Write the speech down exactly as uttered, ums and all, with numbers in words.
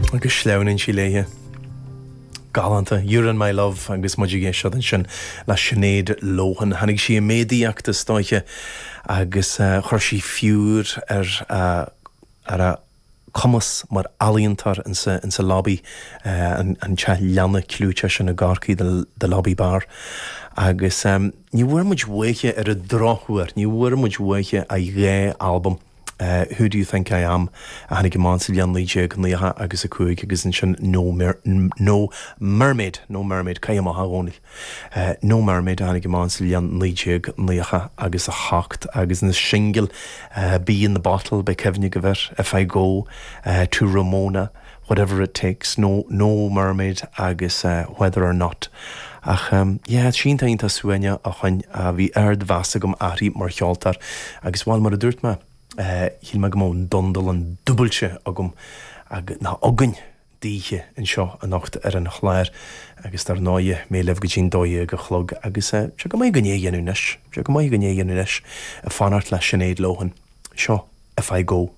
Agus sleamhnaíonn sí léithe. Galánta, You're in My Love agus muid ag éisteacht ansin le Sinéad Lohan. Tháinig sí i méadaíocht is dóiche agus uh, chuir sí fiúr ar uh, ar a cumas mar ealaíontóir insa, insa lobby uh, an, an teach leanna clúiteach sin i gCorcaigh the, the lobby bar. Agus um, ní bhfuair muid uaithi ar an drochuair, ní bhfuair muid uaithi a dhá albam. Uh, Who do you think I am a tháinig amach sa bhliain naoi déag nócha agus a cúig agus ansin no, mer no mermaid no mermaid cai amach dhónaill. Uh, no mermaid a tháinig amach sa bhliain naoi déag nócha agus a hocht agus na singil uh, Bee in the Bottle beidh cuimhne agaibh air if I go uh, to Ramona whatever it takes no no mermaid agus uh, whether or not. Ach um, yeah, sínta ionta suaine a chuin a bhí ardmheas agam uirthi mar cheoltóir agus bhuel mar a dúirt mé. Shíl mé go mbeadh an dundal an dúbailte agam ag ná againn daoibh anseo anocht ar an chlár agus dar ndóigh mé libh go dtí'n dó dhéag a chlog agus sé go maith go dhéanú anois, sé go maith go dhéanú anois a fanacht le Sinéad Lohan. Seo if I go.